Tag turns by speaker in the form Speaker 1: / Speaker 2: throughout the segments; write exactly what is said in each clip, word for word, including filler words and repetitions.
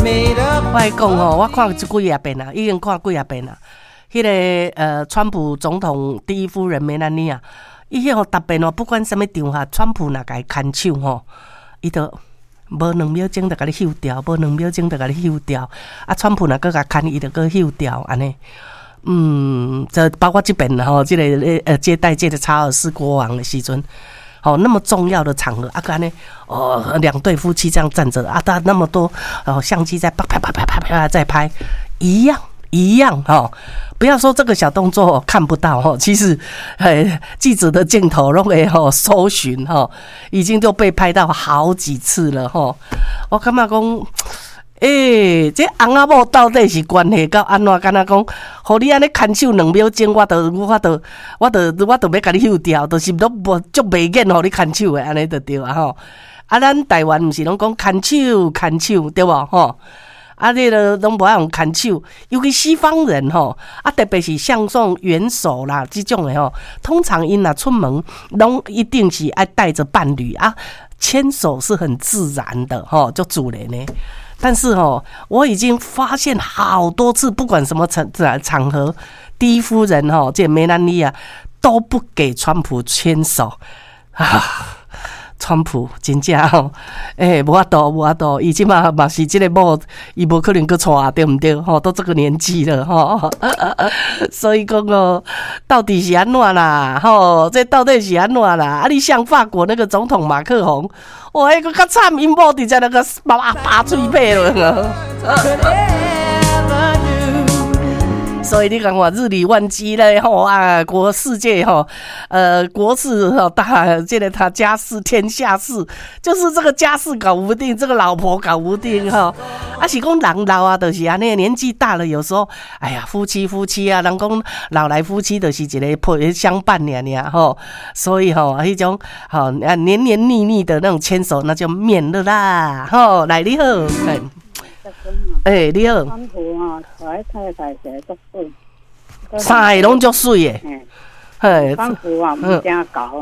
Speaker 1: 我來講吼，我看這幾仔遍啦，已經看幾仔遍啦。彼個呃，川普總統第一夫人梅蘭妮亞，伊彼個特別哦，不管啥物場合，川普若共伊牽手吼，伊就無兩秒鐘就共你休掉，無兩秒鐘就共你休掉。啊，川普若閣共牽，伊就閣休掉，按呢。嗯，這包括這遍吼，這個呃接待這個查爾斯國王的時陣，吼，那麼重要的場合，啊，閣按呢，哦，兩對夫妻這樣站着，啊，他那麼多哦相機在啪啪啪啪啪啪在拍，一樣一樣吼。不要說這個小動作看不到吼，其實，嘿，記者的鏡頭攏會吼搜尋吼，已經都被拍到好幾次了吼。我感覺講，欸，這翁仔某到底是關係到按怎？敢若講，予你按呢牽手兩秒鐘，我就我就我就我就欲共你休掉，就是攏無足袂癮予你牽手的，按呢就對啊吼。啊，咱台灣毋是攏講牽手牽手對無吼？啊，你都攏無愛用牽手，尤其西方人吼，啊，特別是像這種元首啦這種的吼，通常𪜶若出門，攏一定是愛帶著伴侶啊，牽手是很自然的吼，足自然的。但是吼，我已經發現好多次，不管什麼場場合，第一夫人吼，這梅蘭妮亞都不給川普牽手啊。川普真正吼，欸，無法度，無法度，伊這馬嘛是這个某，伊無可能閣娶，對毋對？吼，都這個年紀了，吼，所以講哦，到底是按怎啦？吼，這到底是按怎啦？啊，你像法國那個總統馬克宏，哇，彼個較慘，𪜶某直接那個拔拔喙䫌了。所以你講話日理萬機咧，吼啊，國世界吼，呃，國事吼大，這個他家事天下事，就是這個家事搞不定，這個老婆搞不定吼。啊，是講人老啊，就是按呢，年紀大了，有時候，哎呀，夫妻夫妻啊，人講老來夫妻就是一個陪相伴爾爾吼。所以吼，彼種吼啊黏黏膩膩的那種牽手，那就免了啦。吼，來你好，欸，你好。
Speaker 2: 川普啊，娶太太是足媠，
Speaker 1: 三个攏足媠的。
Speaker 2: 嘿，川普啊，毋誠姣啊，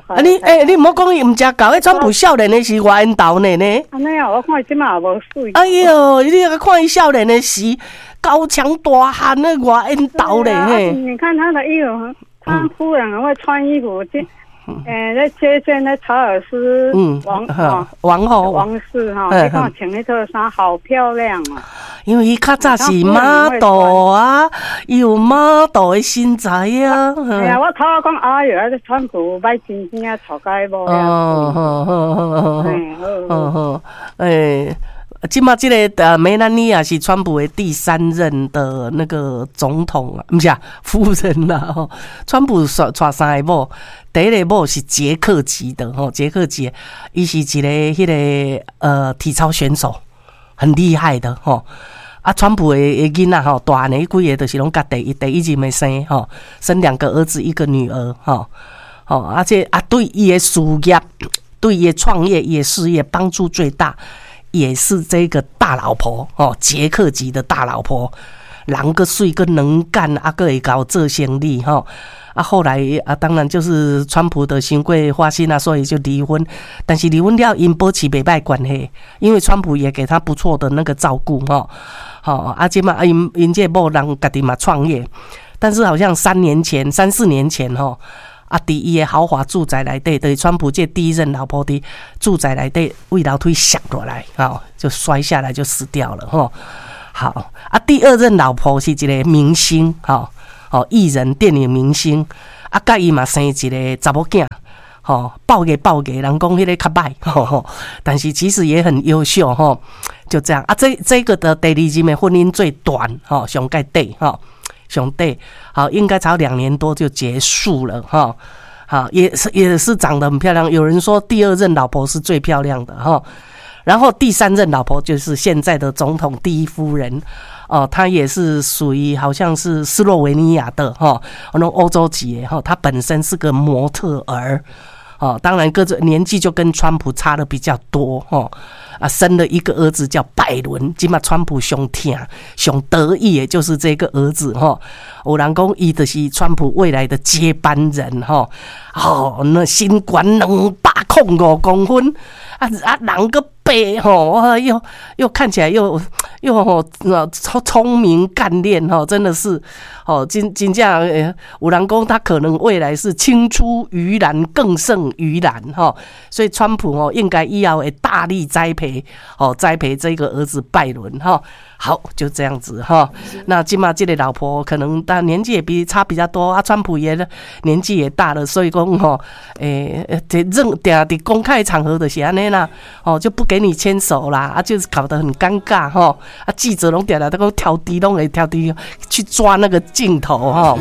Speaker 1: 啊你欸，你毋好講伊毋誠姣，彼川普少年的時偌緣投呢呢。
Speaker 2: 按呢啊，我看伊這馬也無媠。
Speaker 1: 哎喲，你看伊少年的時，高強大漢的偌緣投咧嘿。
Speaker 2: 你看他的衣服，他夫人很會穿衣服，這。欸，咧接見那查爾斯王
Speaker 1: 王后
Speaker 2: 王室哈，你看穿彼套衫好漂亮啊！
Speaker 1: 因為伊較早是 model 啊，伊有 model 的身材啊。
Speaker 2: 哎呀，我頭仔講，哎喲，這川普歹真正娶甲某。
Speaker 1: 哦，好好好好好好，欸，這馬這个呃梅蘭妮亞是川普的第三任的那個總統啊，毋是啊，夫人啦吼。川普娶娶三個某，第一个某是捷克籍的吼，捷克籍，伊是一个彼个呃體操選手，很厲害的吼。啊，川普的的囡仔吼，大漢的彼幾个就是攏佮第一第一任的生吼，生兩個兒子一個女兒吼，吼，而且啊對伊的事業，對伊的創業、伊的事業幫助最大，也是這個大老婆哦，捷克籍的大老婆，人閣媠閣能幹，啊，閣會𠢕做生意吼。啊，後來啊，當然就是川普的傷過花心啊，所以就離婚。但是離婚了，𪜶保持袂䆀關係，因為川普也給他不錯的那個照顧吼。吼，啊，這馬𪜶𪜶這某人家己嘛創業，但是好像三年前、三四年前吼。啊，佇伊的豪華住宅內底，就是川普這第一任老婆佇住宅內底，對樓梯摔落來，吼，就摔下來就死掉了，吼。好，啊，第二任老婆是一個明星，吼，吼，藝人、電影明星，啊，佮伊嘛生一个查某囝，吼，爆個爆個，人講彼个較䆀，吼，但是其實也很優秀，吼，就這樣啊，這這個的第二任的婚姻最短，吼，上蓋短，吼。上短，好，應該才兩年多就結束了，哈，好，也是也是長得很漂亮。有人說第二任老婆是最漂亮的，哈，然後第三任老婆就是現在的總統第一夫人，哦，她也是屬於好像是斯洛維尼亞的，哈，那種歐洲籍，哈，她本身是個模特兒，哦，當然個子年紀就跟川普差的比較多，哈。啊，生了一個兒子叫拜倫，這馬川普上疼、上得意的就是這個兒子吼。有人講伊就是川普未來的接班人吼。哦，那身懸兩百箍空五公分，啊啊人閣白吼，又又看起來又又吼聰聰明幹練吼，真的是吼真真正有人講他可能未來是青出於藍更勝於藍吼，所以川普吼應該以後會大力栽培哦，栽培這個兒子拜倫吼。好，就這樣子哈。那這馬這個老婆可能但年紀也比差比較多啊，川普也年紀也大了，所以講吼，欸，這任定佇公開場合就是按呢啦，哦，就不給你牽手啦，啊，就是搞得很尷尬吼。啊，記者攏定定都講挑剔，攏會挑剔去抓那個鏡頭吼。